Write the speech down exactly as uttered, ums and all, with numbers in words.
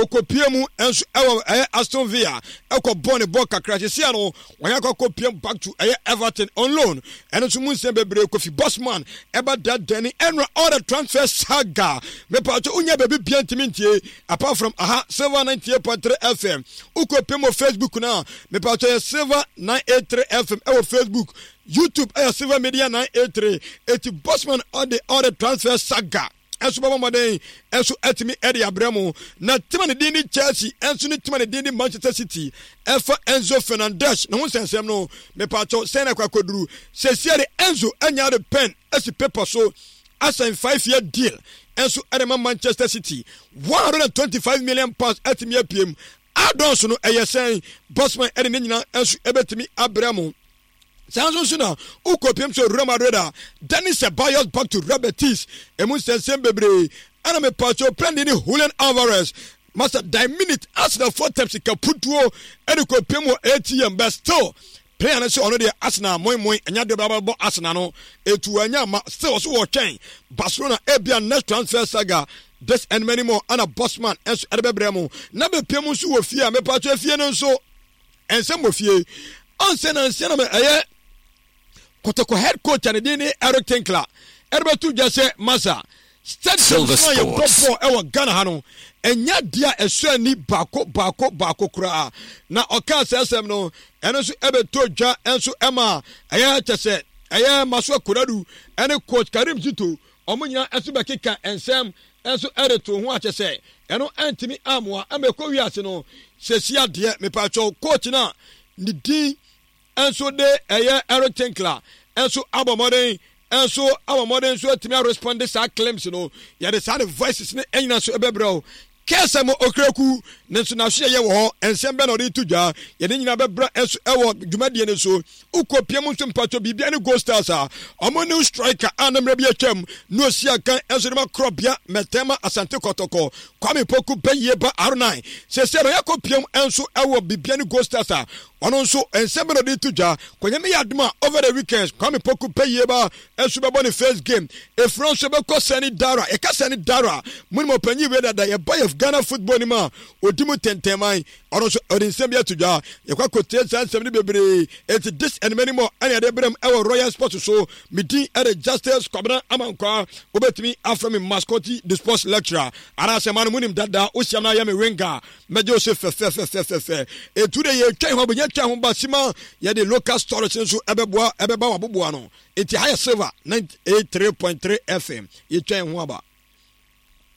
Okopie mu nso ɛwɔ ɛyɛ Aston Villa, ɛkɔ bɔ ne bɔ kakra. Sisi ano wɔn akɔ akɔpie back to ɛyɛ Everton on loan. Ɛno nso mu nsɛm bebree, Kofi Bosman ɛba dadani ɛnura all the transfer saga. Mepatro, wonya baabi bia ntumi ntie apart from aha, Silver ninety-eight point three F M. Wokɔpie mu wɔ Facebook no a, mepatro, yɛ Silver nine eight three F M ɛwɔ Facebook. YouTube ɛyɛ Silver Media nine eight three. Eti Bosman ɔde all the transfer saga ɛnso bɛbɔ mmɔden ɛnso ɛtumi ɛde abrɛ mu. Na team a ne din ne Chelsea ɛnso ne team a ne din ne Manchester City ɛfa Enzo Fernandez ne ho nsɛnsɛm no, mepatro, sɛn na ɛkɔ akɔduru sɛsia de Enzo ɛnya de pen ɛsi paper so asan five year deal ɛnso ɛde ma Manchester City, one hundred and twenty-five million pounds ɛtumi apiem add-ons no ɛyɛ sɛn? Bosman ɛde ne nyinaa ɛnso ɛbɛtumi abrɛ mu. Saa nso nso na wokɔpiem sɛ Real Madrid a Dani Ceballos back to Real Betis, ɛmu nsɛnsɛm bebree. Ɛna mepatwo plɛndi ne Julian Alvarez masa die minute Arsenal four times sika putuo ɛde kɔpiem wɔ A T M, but still player no sɛ ɔno deɛ Arsenal moimoi ɛnya deɛ ɔbɛbɔ Arsenal no etu anya ma still ɔso wɔtwɛn Barcelona ebia next transfer saga. This and many more ana Bosman ɛnso ɛde bɛbrɛ mu. Na bɛpiem nso wɔ fie a, mepatwo, fie no nso ɛnsɛm wɔ fie ɔnsɛ na nsɛ na ɛyɛ Kɔtɔkɔ head coach a ne din ne Eric Tinkler ɛde bɛto dwa sɛ masa stadium Silver so a yɛbɔ Sports. bɔɔl ɛwɔ Ghana ha no ɛnya deɛ a ɛsɔ ani baako baako baako koraa. Na ɔkaa sɛ asɛm no ɛno nso ɛbɛtɔ dwa ɛnso ɛma ɛyɛ kyɛ sɛ ɛyɛ Maso Konadu ɛne coach Karim Zito, ɔmo nyinaa ɛnso bɛkeka nsɛm ɛnso ɛde to ho akyɛ sɛ ɛno ɛntumi amoa ɛma ɛkɔ wiase no. Sɛsi adeɛ, mepatwɛw, coach no a ne din nso de ɛyɛ Eric Tinkler nso abɔ mmɔden nso abɔ mmɔden nso atumi arespond saa claims no. Yɛde saa ne voices ne ɛnyina nso ɛbɛbrɛ o kɛsɛ mo Okraku ne nso n'aso yɛyɛ wɔ hɔ. Nsɛm bɛ na ɔde to dwa, yɛde nyinaa bɛbrɛ nso ɛwɔ dwumadie no so. Wokɔ pie mu nso, mpatwɔ, biribia ne Gold Stars a ɔmo new striker a ne mmerɛ bi atwam na osi akan nso de ma korɔbea mɛtɛma Asante Kɔtɔkɔ, Kwame Poku bɛyie ba R nine, sɛsɛ no yɛkɔ pie mu nso ɛwɔ biribia ne Gold Stars a ɔno nso nsɛm bɛ na ɔde to dwa. Kɔnyɛmɛ yɛ adom a, over the weekends Kwame Poku bɛyie ba nso bɛbɔ ne first game. Efura nso bɛkɔ Sɛni Dara. Yɛka Sɛni Dara mu ne ɔpanyin wei dada yɛba yɛ Ghana football ni mu a odi mu tɛntɛnman, ɔno nso ɔde nsɛm bi ato dwa. Yɛkɔ akɔtie saa nsɛm no bebree. Eti this and many more ɛna yɛde brɛ mu ɛwɔ Royal Sports so. Me din ɛde Justice Kwabena Amankwa. Wobɛtumi afrɛ me Mascoti the sports lecturer anaasɛ ma no mu nim dada. Wohyia no ayɛ me winger, mɛgye wo so fɛfɛfɛfɛfɛ. Etu de yɛtwa ho abɛnya twa ho ba sima, yɛde local stories nso ɛbɛboa ɛbɛba waboboa no. Eti ha yɛ Silver ninety-eight point three F M. Yɛtwa ho aba.